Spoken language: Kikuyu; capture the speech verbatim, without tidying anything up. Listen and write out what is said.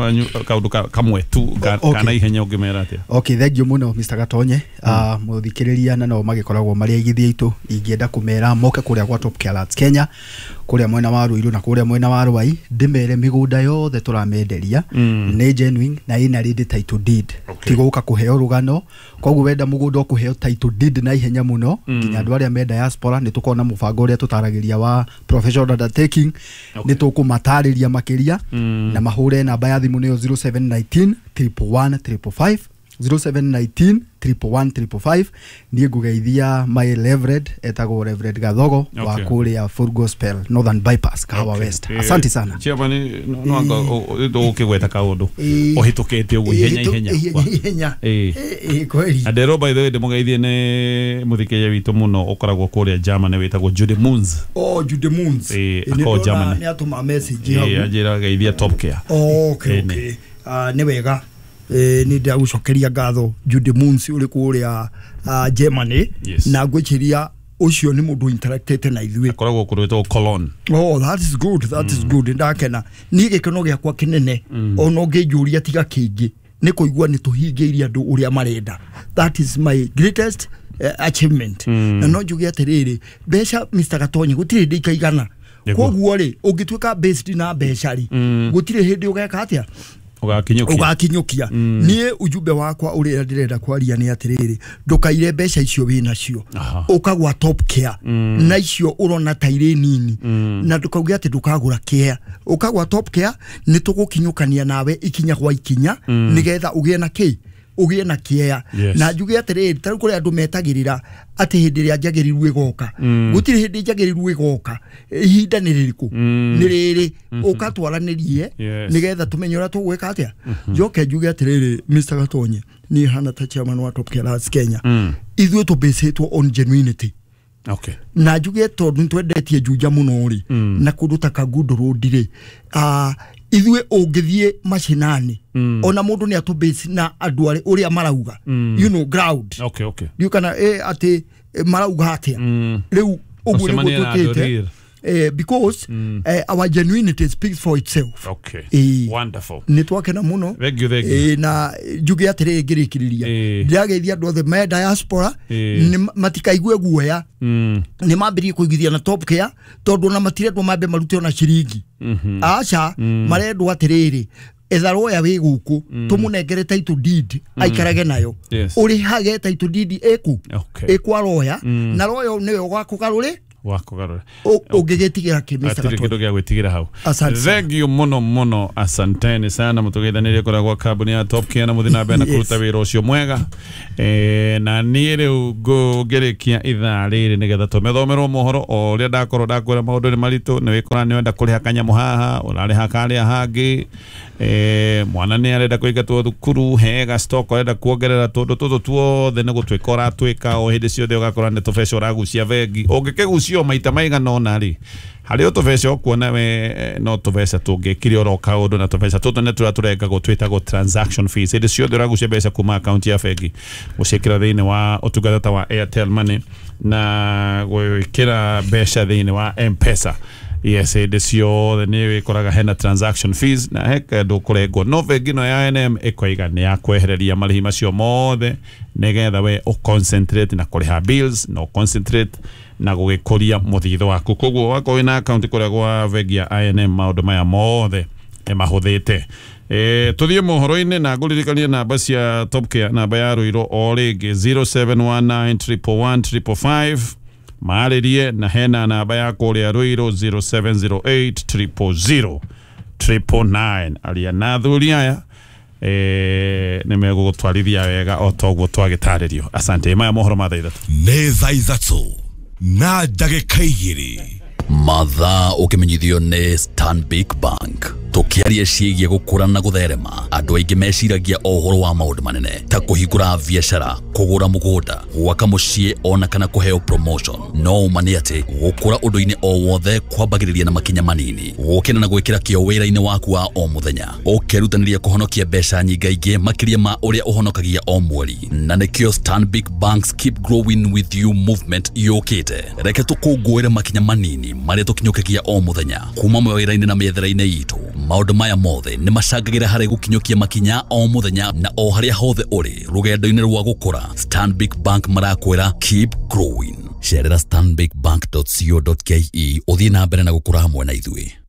manyu kaundu kamwe tu kana ihenya ũngĩmera atĩa? Okay, thank you mũno Mister Gatonye. uh, Mũthikĩrĩria na no magĩkoragwo marĩ aigithia aitũ, ingĩenda kũmera moke kũrĩa gwa Top Care Lands Kenya, kũrĩa mwena wa Ruiru na kũrĩa mwena wa Ruai, ndĩmere mĩgũnda yothe tũramenderia nĩ genuine na ĩna ready title deed. Ti gũka kũheo rũgano, koguo wenda mũgũnda ũkũheo title deed na ihenya mũno. Nginya andũ arĩa me diaspora nĩ tũkorwo na mũbango ũrĩa tũtaragĩria wa professional undertaking, nĩ tũkũmatarĩria makĩria na mahũre namba ya thimũ nĩyo zero seven nineteen triple one triple five, zero seven nineteen triple one triple five. Niĩ ngũgeithia my Reverend, etagwo Reverend Gathogo wa kũrĩa Full Gospel Northern Bypass, Kahawa West. Asante sana. Chairman, no anga ũkĩgweta kaũndũ ũhĩtũkĩte ũguo ihenya ihenya ihenya. Eh kweli. Andero, by the way, ndĩmũgeithie nĩ mũthikĩrĩria witũ mũno ũkoragwo kũrĩa Germany wĩtagwo Judy Moons. Oh, Judy Moons. Eh, ako Germany. Nĩ atũma message hau. Eh, anjĩra geithia Top Care. Okay, okay. Ah, nĩ wega. Eh, nĩ ndagũcokeria ngatho Judy Moons ũrĩ kũrĩa Germany, na ngwĩciria ũcio nĩ mũndũ interactete na ithuĩ. Akoragwo kũndũ gwĩtagwo Cologne. Oh, that is good, that is good. Ndakena niĩ gĩkeno gĩakwa kĩnene ona ũngĩnjũria tiga kĩngĩ nĩ kũigua nĩ tũhingĩirie andũ ũrĩa marenda. That is my greatest uh, achievement. Na no njuge atĩrĩrĩ, mbeca Mister Gatonye gũtirĩ hĩndĩ ikaigana. Koguo rĩ, ũngĩtuĩka based na mbeca rĩ, gũtirĩ hĩndĩ ũgeka atĩa, ugakinyukia ugakinyukia. Niĩ ujumbe wakwa ũrĩa ndĩrenda kwaria nĩ atĩrĩrĩ, ndũkaire mbeca icio wĩ nacio ũkagwa Top Care na icio ũrona ta irĩ nini, na ndũkauge atĩ ndũkagũra care. Ũkagwa Top Care nĩ tũgũkinyũkania nawe ikinya gwa ikinya nĩgetha ũgĩe na kĩ, ũgĩe na kĩea. Na njuge atĩrĩrĩ, ta rĩu kũrĩ andũ metagĩrĩra atĩ hĩndĩ ĩrĩa njagĩrĩru ĩgoka. Gũtirĩ hĩndĩ njagĩrĩru ĩgoka. Ihinda nĩ rĩrĩkũ? Nĩ rĩrĩ. Ũkatwaranĩrie nĩgetha tũmenye ũrĩa tũgwĩka atĩa. Njoke njuge atĩrĩrĩ, Mister Gatonye, niĩ hana ta chairman wa Top Care Lands Kenya, ithuĩ tũbĩcĩtwo on genuinity. Okay. Na njuge tondũ nĩtwendetie Juja mũno rĩ, na kũndũ ta Kangundo Road rĩ, ithuĩ ũngĩthiĩ macinani ona mũndũ nĩ atũbase na andũ arĩa ũrĩa marauga, you know, ground. Okay, okay. Ndiũ kana eh, atĩ marauga atĩa rĩu ũguo nĩguo twĩkĩte. Eh, because mm. eh, our genuinity speaks for itself. Okay. Eh, wonderful. Nĩ twakena mũno. Thank you, thank you. Eh, na njuge atĩrĩ ngĩrĩkĩrĩria, ndĩrageithia andũ othe me diaspora nĩ matikaigue guoya, nĩ mambĩrĩrie kũigithia na Top Care tondũ ona matirendwo mambe marute ona ciringi. Aca, marendwo atĩrĩrĩ, etha roya wĩ gũkũ tũmũnengere title deed aikarage nayo, ũrĩhage title deed ĩku ĩkwa roya, na roya nĩwe ũgakũgarũrĩ wakugarura ũngĩgĩtigĩra kĩ Mister Gatonye? Kĩndũ gĩa gwĩtigĩra hau. Thank you mũno mũno, asanteni sana mũtũgeithanĩrie kũrĩa gwa kambuni ya Top Care na mũthiĩ na mbere na kũruta wĩra ũcio mwega. Eh, na niĩ rĩu ngũngĩrĩkia ithaa rĩrĩ nĩgetha tũmethomerwo mohoro o ũrĩa ndakorwo ndakwĩra maũndũ nĩ maritũ, nĩ wĩkora nĩ wenda kũrĩha kanyamũ haha ũrarĩha karĩa hangĩ, eh, mwana nĩ arenda kũingatwo thukuru, hega stock ũrenda kuongerera, tũndũ tũtũ tuothe nĩ gũtuĩka ũratwĩka o hĩndĩ ciothe, ũgakora nĩ tũbeca ũragucia bengi. Ũngĩkĩgucia maita maigana ũna rĩ, harĩ o tũbeca ũkuona we no tũbeca tũngĩkire oro kaũndũ, na tũbeca tũtũ nĩ tũrĩa tũrengagwo twĩtagwo transaction fees. Hĩndĩ ciothe ũragucia mbeca kuma akaunti ya bengi gũciĩkĩra thĩinĩ wa ũtungata ta wa Airtel Money na gwĩkĩra mbeca thĩinĩ wa M-Pesa, yes, hĩndĩ ciothe nĩ wĩkoraga hena transaction fees na he kĩndũ kũrengwo, no bengi ĩno ya I N M ĩkoiga nĩ ya kwehereria marĩhi macio mothe nĩgetha we ũconcentrate na kũrĩha bills na ũconcentrate na gũgĩkũria mũthithũ waku. Koguo wakorwo wĩna akaunti kũrĩa gwa bengi ya I N M maũndũ maya mothe nĩ mahũthĩte. Eh, tũthiĩ mohoro-inĩ na ngũririkanie namba cia Top Care, namba ya Ruiru o rĩngĩ zero seven one nine triple one triple five, marĩrie, na hena namba ya kũrĩa Ruiru zero seven zero eight triple zero triple nine. Aria na athuri aya eh, nĩ megũgũtwarithia wega o ta ũguo twagĩtarĩrio. Asante. Maya mohoro ma thaa ithatũ. Nĩ thaa ithatũ na ndagĩka igĩrĩ. Mathaa ũkĩmenyithio nĩ Stanbic Bank. Tũkĩaria ciĩgiĩ gũkũra na gũtherema, andũ aingĩ meciragia o ũhoro wa maũndũ manene ta kũhingũra biacara, kũgũra mũgũnda, gwaka mũciĩ ona kana kũheo promotion. No ũma nĩ atĩ gũkũra ũndũ-inĩ o wothe kwambagĩrĩria na makinya manini, gũkena na gwĩkĩra kĩo wĩra-inĩ waku wa o mũthenya, ũkerutanĩria kũhonokia mbeca nyingaingĩ makĩria ma ũrĩa ũhonokagia o mweri. Na nĩkĩo Stanbic Bank's Keep Growing With You movement yũkĩte. Reke tũkũngũĩre makinya manini manini marĩa tũkinyũkagia o mũthenya kuma mawĩra-inĩ na mĩethere-inĩ itũ. Maũndũ maya mothe nĩ macangagĩra harĩ gũkinyũkia makinya o mũthenya na o harĩa hothe ũrĩ rũgendo-inĩ rwa gũkũra. Stanbic Bank marakwĩra keep growing. Cerera stanbic bank dot co dot ke ũthiĩ na mbere na gũkũra hamwe na ithuĩ.